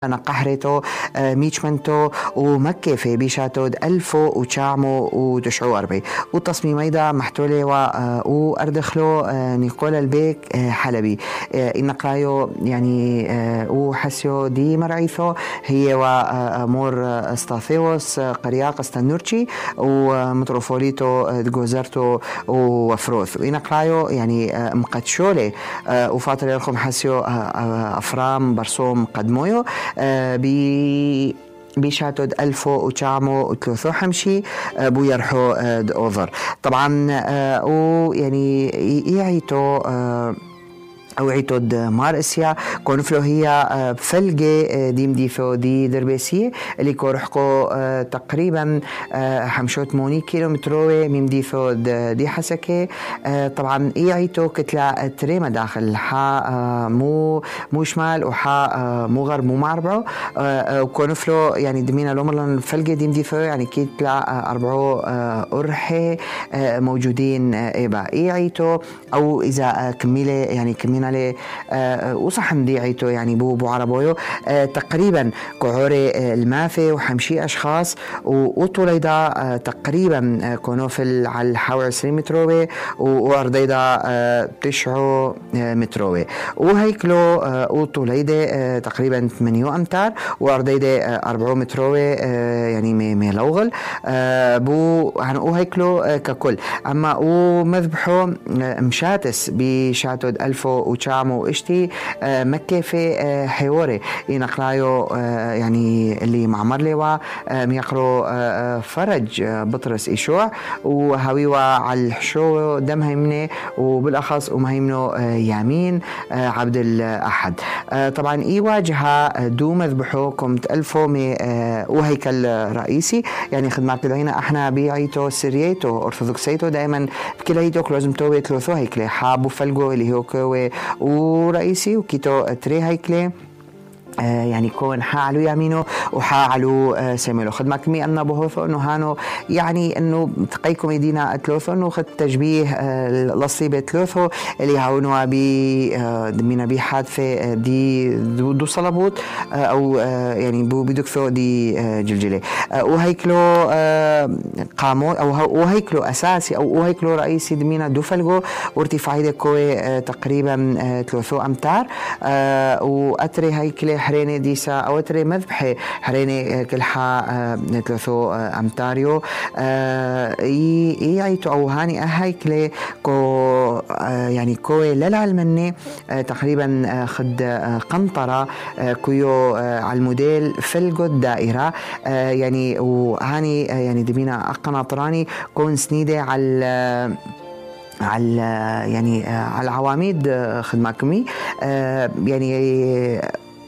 أنا قحرته ميشمنتو ومكفي بيشاتود ألفو وشامو وتشعو أربي والتصميم أيضا محتولي وأردخلو نيكولا البيك حلبي إنقرايو يعني وحسيو دي مرعيثو هي ومور استاثيوس قرياق استنورشي ومتروفوليتو جوزرتو وفروث وإنقرايو يعني مقدشولي وفاطر لكم حسيو أفرام برسوم قدمويو بيشاتود ألفو وشامو وثلاثو حمشي بو يرحو أوذر طبعا ويعني يعيتو أو عيتود مارسيا كونفلو هي فلقة دي مديفو دي دربيسية اللي كورحكو تقريبا حمشوت 8 كيلومتروي مديفو دي حسكة طبعا يعيتو كتلة تريمة داخل حا مو شمال وحا مو غرب مو معربعو وكونفلو يعني دمينا لومرلن فلقة دي مديفو يعني كتلة 4 أرحي موجودين إيبا يعيتو أو إذا كميلة يعني كمينا وصحن ديعيتو يعني بو عربويو تقريبا كعوري المافي وحمشي أشخاص وطوليدا تقريبا كونوفل على حوالي 20 متروي وأرضيدا 9 متروي وهيكلو وطوليدا تقريبا 8 أمتار وأرضيدا 4 متروي يعني ميلوغل بو وهيكلو ككل أما ومذبحو مشاتس بشاتود ألفو وشامو وإشتي مكفي حواري ينقرايو يعني اللي معمر لوا ميقرو فرج بطرس إيشوع وهويوا على الحشو دم هيمنه وبالأخص ومهيمنه يامين عبد الأحد طبعا يواجهها دو مذبحوكم تألفو وهيكل رئيسي يعني خدمات لدينا احنا بيعيتو سريتو أرثوذكسيتو دائما بكل هيتوك لازم توي ثلاثو هيكلي حابو فلقو اللي هو كوي ورئيسي وكيتو تري هيكلي يعني كون حالو يمينه وحالو سميلو خدمة كمي أنه بهوثو أنه هانو يعني أنه تقيكم يدينا ثلاثو أنه خد تشبيه لصيبة ثلاثو اللي هاونوا دمينا بي حادثة دي دو صلبوت أو يعني بدكثو دي جلجلة وهيكلو قامون أو وهيكلو أساسي أو وهيكلو رئيسي دمينا دو فلقو وارتفاعي كوي تقريبا 3 أمتار وأتري هيكلي حريني ديسا أو تري مذبحي حريني كلها 3 أمتاريو يعيتو أو هاني أهيكلي كو يعني كوي للعلمني تقريبا خد قنطرة كيو على الموديل فلقو الدائرة يعني وهاني يعني دبينا قناطراني كون سنيدة على يعني على العواميد خدمة كمي يعني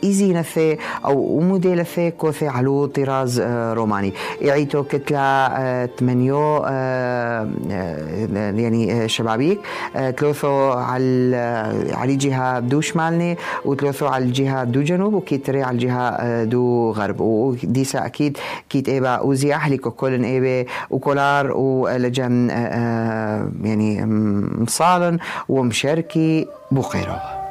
إيزي نثي أو موديل ثي كوثي علو طراز روماني يعيتو كتلة 8 يعني شبابيك 3 على جهة دو شمالني و3 على الجهة دو جنوب وكيتري على الجهة دو غرب وديسا أكيد كيت إيبا وزي أحلي كولن إيبا وكولار ولجن يعني مصالن ومشاركي بوخيرو